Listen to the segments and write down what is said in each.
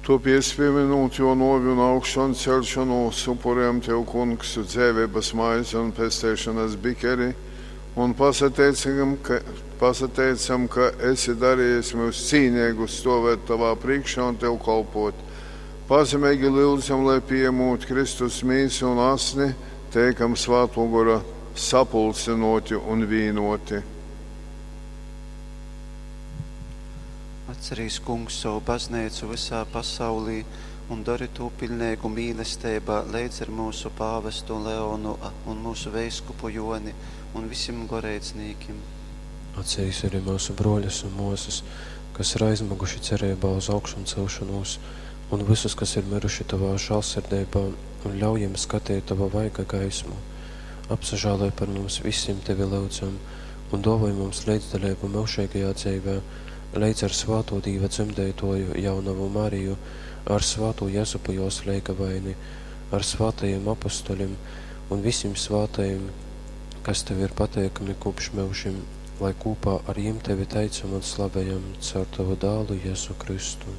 Tōpēc, pīmynūt jō nōvi un augšonceļšonūs, upurejam tev, Kungs, dzeiveibas maizi un pesteišonas bikeri un pasateicam, ka, pasateicam, ka esi darījis myus cīneigus stōvēt tovā prīškā un tev kolpōt. Pazemeigi lyudzam, lai pījemūt Kristus mīsu un asni, teikam Svātō Gora sapulcynōti un vīnōti. Atcerīs, Kungs, sovu bazneicu vysā pasaulī un dori tū piļneigu mīlesteibā leidz ar myusu pāvestu Leonu un myusu veiskupu Jōni un visim goreidznīkim. Atcerīs arī myusu brōļus un mōsas, kas ir aizmyguši cereibā uz augšoncelšonūs, un vysus, kas ir myruši tovā žālsirdeibā, un ļauj jim skateit tova vaiga gaismu. Apsažāloj par mums visim, tevi lyudzam, un dōvoj mums leidzdaleibu myužeigajā dzeivē, leidz ar svātū Dīva dzemdeitōju jaunovu Mariju, ar svātū Jezupu jōs leigavaini, ar svātajim apostolim un visim svātajim, kas tev ir pateikami kopš myužim, lai kūpā ar jim tevi teicam un slavejam caur tavu dālu Jezu Kristu.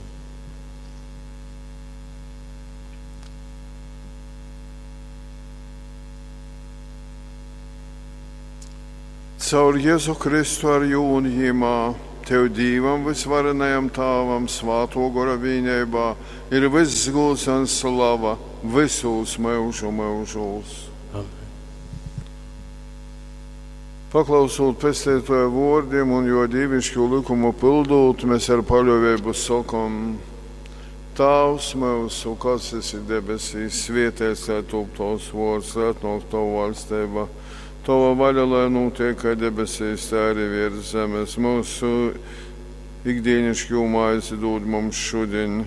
Caur Jezu Kristu ar jū un jimā, tev Dīvam vysvarenajam Tāvam svātō gora vīneibā ir vyss gūds un slava vysūs myužu myužūs. Amen. Paklausūt Pesteitōja vōrdim un jō dīviškū lykumu pyldūt, mēs ar paļōveibu sokom: Tāvs myusu, kas esi debesīs, svētīts lai top tavs vōrds, lai atnōk tava vaļsteiba. Tava vaļa, lai nūtiek kai debesīs, tā arī virs zemes. Mūsu ikdienišķo maizi dod mums šodien,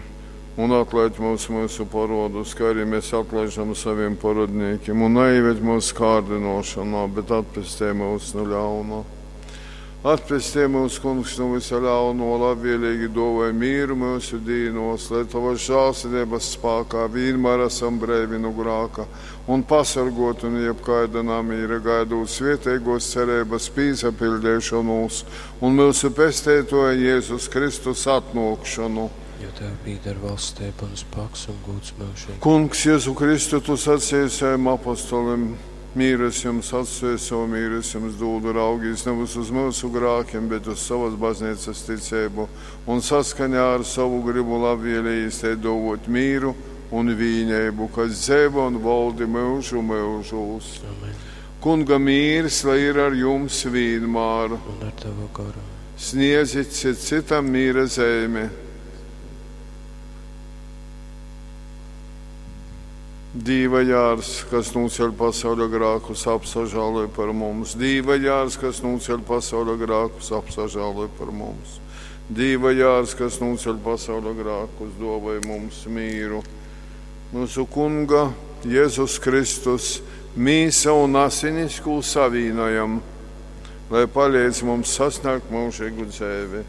un atlaid mums mūsu parodus, kā arī mēs atlaižam saviem parodniekiem, un neieved mūsu kārdinošanā, bet atpestī mūs no ļauna. Atpestī mūs, Kungs, no visa ļauno, labvēlīgi dāvāj mīru mūsu dīnos, lai tavas žēlsirdības spēkā vienmēr esam breivi no grāka un pasargoti no jebkāda namīra, gaidot svētīgos cerības pīsapildīšanos un mūsu pestētoja Jēzus Kristus atnākšanu. Jo tev pīder valstība un spēks un gūds mūžīgi. Kungs, Jēzu Kristu, tu sacīji saviem apostolim, mīru es jums atstāju, savu mīru es jums dodu, raugīs nevis uz mūsu grākiem, bet uz savas baznīcas ticību, un saskaņā ar savu gribu labvēlīgi te dovot mīru un vīneibu, kas dzeivo un valdi mūžu mūžūs. Amen. Kunga mīrs, lai ir ar jums vienmēr. Un ar tavu garu. Sniedzit cit citam mīra zeimi. Dīva jārs, kas nūceļ pasauļa grākus, apsažāloj par mums. Dīva jārs, kas nūceļ pasauļa grākus, apsažāloj par mums. Dīva jārs, kas nūceļ pasauļa grākus, dāvāj mums mīru. Mūsu Kunga Jēzus Kristus mīsa un asinis, ko savīnojam, lai palīdz mums sasniegt mūžīgu dzīvi.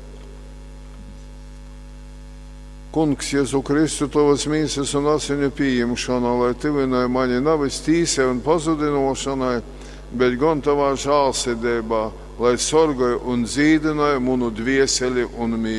Kungs, Jēzu Kristu, tavas mīsas un asiņu pieņemšana, lai tuvināja mani nevis tīsai un pazudinošanai, bet gan tavā žālsirdībā, lai sorgāja un dzīdināja manu dvieseli un mīsu.